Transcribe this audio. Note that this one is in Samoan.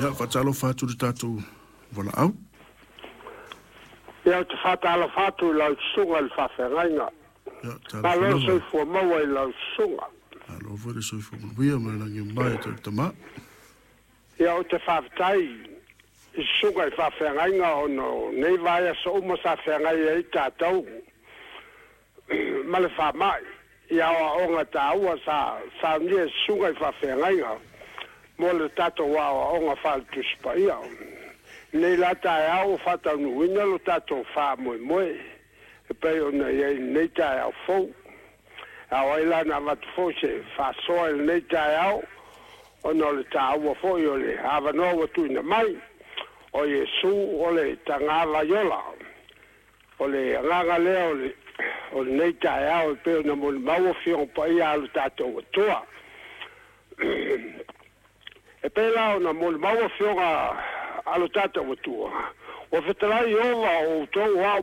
Ia, faatalofa atu i le tatou valaau. Ia, ou te faatalofa atu i lau susuga i le faafeagaiga. Ia, talofa Malo le lava. soifua maua i lau susuga. Malo foi le soifua manuia ma le lagi e mama e te tama. Ia, ou te faafetai i susuga i faafeagaiga ona o nei vaiaso uma sa feagai ai tatou ma le faamai i aoaoga taua sa saunia e susuga i faafeagaiga mo le tatou aoaoga faale-Tusi Paia. Nei la taeao ua faataunuuina lo tatou faamoemoe e pei ona i ai lenei taeao fou. Ao ai la na avatu foi se faasoa i lenei taeao ona o le taua foi o le avanoa ua tuuina mai. O Iesu o le tagavaiola. O le agaga lea o lenei taeao e pei ona molimau Afioga Paia a lo tatou Atua. E pei la ona molimau Afioga a lo tatou Atua, ua fetalai Ieova o outou o au